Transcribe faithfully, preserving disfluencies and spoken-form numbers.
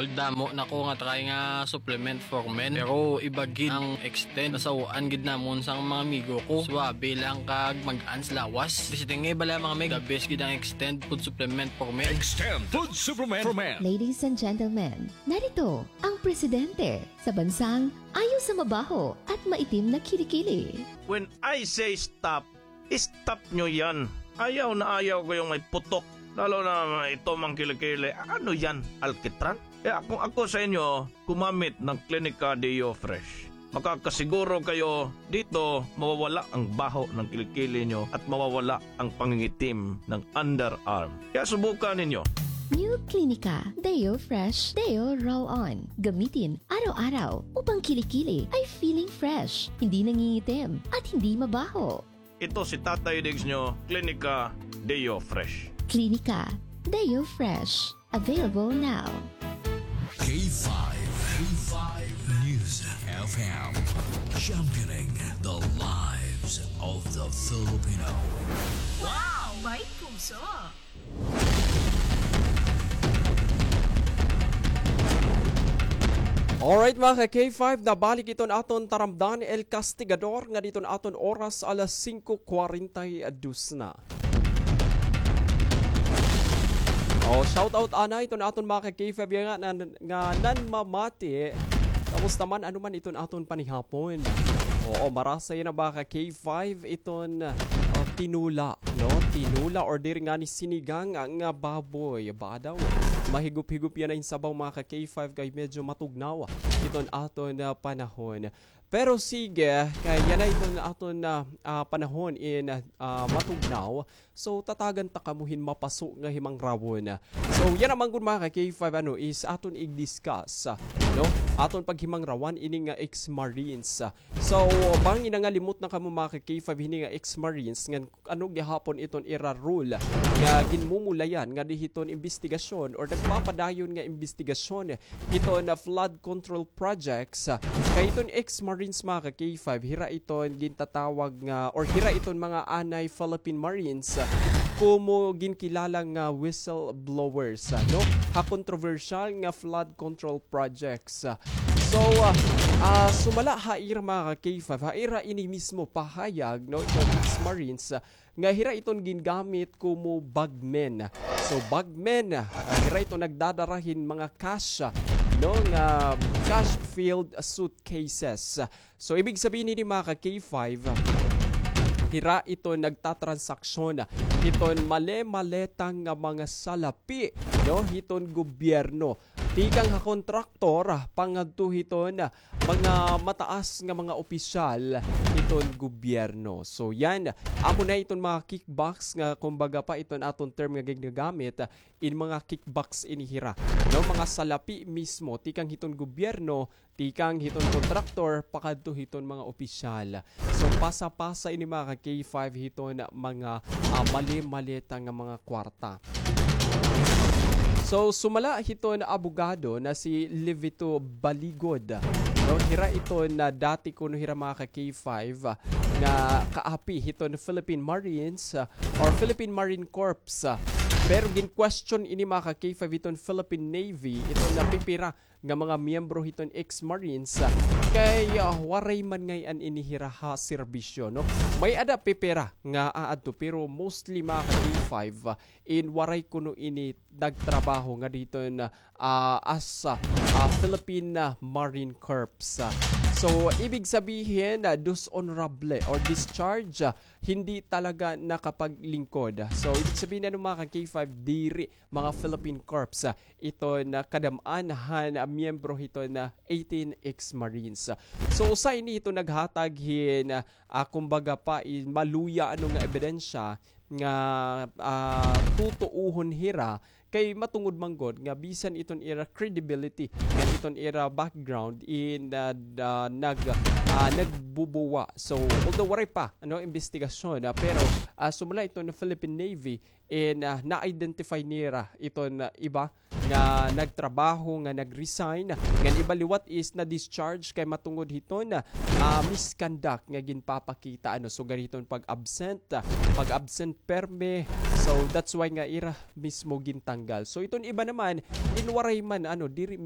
Damo na ko nga try nga supplement for men, pero iba gid ang Extend. Nasaw-an gid namon sang mga amigo ko. Suabe lang kag mag-ans lawas. Bisiting nga iba lamang, mga mig, the best gid ang Extend food supplement for men. Extend food supplement for men. Ladies and gentlemen, narito ang presidente sa bansang ayaw sa mabaho at maitim na kilikili. When I say stop, stop nyo yan. Ayaw na ayaw ko yung may putok. Lalo na ito mang kilikili. Ano yan? Alkitran? Kaya kung ako sa inyo, gumamit ng Clinica Deo Fresh. Makakasiguro kayo dito mawawala ang baho ng kilikili nyo at mawawala ang pangingitim ng underarm. Kaya subukan ninyo. New Clinica Deo Fresh Deo Roll On. Gamitin araw-araw upang kilikili ay feeling fresh, hindi nangingitim, at hindi mabaho. Ito si Tatay Diggs nyo, Clinica Deo Fresh. Clinica Deo Fresh. Available now. K five, K five News F M, championing the lives of the Filipino. Wow! May puso! Alright, mga ka-K five, nabalik iton aton taramdan, El Castigador, nga diton aton oras alas singko kwarenta y dos na. O, shout out anay iton aton mga ka-K five nga nan-, nga nanmamati. Kamusta man, ano man iton aton panihapon? Oo, marasa yana, mga ka-K five, iton, ah, tinula, no? Tinula or diri ngani sinigang nga baboy. Ba daw, mahigop-higop yana in sabaw, mga ka-K five, kay medyo matugnaw iton aton, ah, panahon. Pero sige, kay yana iton aton, ah, ah, panahon in, ah, matugnaw. So, tatagan ta kamo hin mapaso nga himangrawon. So, yana man gud, mga ka-K five, ano, is aton i-discuss, no? Aton paghimangrawan ini nga ex-marines. So, bangin nangalimot na kamo, mga ka-K five, hini nga ex-marines, ngan ano gihapon iton ira role nga ginmumulayan ngadi hiton imbestigasyon or nagpapadayon nga imbestigasyon hiton flood control projects. Kay iton ex-marines, mga ka-K five, hira iton gintatawag nga, or hira iton mga anay Philippine Marines, komo ginkilala nga whistleblowers, no? Ha kontrobersyal nga flood control projects. So, ah, ah, sumala ha ira, mga ka-K five, ha ira ini mismo pahayag, no, iton ex-marines, ah, nga hira iton gingamit komo bagmen. So, bagmen, ah, hira iton nagdadara hin mga cash, ah, no, nga cash-filled suitcases. So, ibig sabihin hini, mga ka-K five, hira iton nagtatransaksyon hiton male-maleta nga mga salapi, no, hiton gobyerno. Tikang ha kontraktor, pangadto hiton mga mataas nga mga opisyal hiton gobyerno. So, yan. Amo na iton mga kickbacks nga, kumbaga pa, iton aton term nga ginagamit, in mga kickbacks ini hira. No, mga salapi mismo, tikang hiton gobyerno, tikang hiton kontraktor, pakadto hiton mga opisyal. So, pasa-pasa ini, mga ka-K five, hiton mga, ah, mali-maleta nga mga kwarta. So, sumala hiton abogado na si Livito Baligod, no, hira iton dati kuno hira, mga ka-K five, nga kaapi hiton Philippine Marines, ah, or Philippine Marine Corps, ah. Pero gin-question ini, mga ka-K five, hiton Philippine Navy, iton pipira nga mga miyembro hiton ex-Marines, ah, kay, ah, waray man ngay-an ini hira ha serbisyo, no? May-ada pipira nga aadto, pero mostly, mga ka-K five, ah, in waray kuno ini nagtrabaho ngadi hiton, ah, as, ah, ah, Philippine, ah, Marine Corps. Ah, so, ibig sabihin, ah, dishonorable or discharge, ah, hindi talaga nakapaglingkod. So, ibig sabihin, ano, mga ka-K five, diri mga Philippine Corps, ah, iton kadam-an han miyembro hiton eighteen ex-Marines. So, usa ini hiton naghatag hin, ah, kumbaga pa, in maluya, ano, nga ebidensya nga, ah, tutuohon hira kay matungod man gud nga bisan iton ira credibility ngan iton ira background in, ah, da-, nag-, ah, nagbubuwa. So, although waray pa, ano, imbestigasyon, ah, pero, ah, sumala iton Philippine Navy, in, ah, na-identify nira iton, ah, iba nga nagtrabaho, nga nag-resign, ngan iba liwat is na-discharge kay matungod hiton, ah, misconduct nga ginpapakita, ano, sugad hiton pag-absent, ah, pag-absent permi. So, that's why nga ira mismo gintanggal. So, iton iba naman, in waray man, ano, diri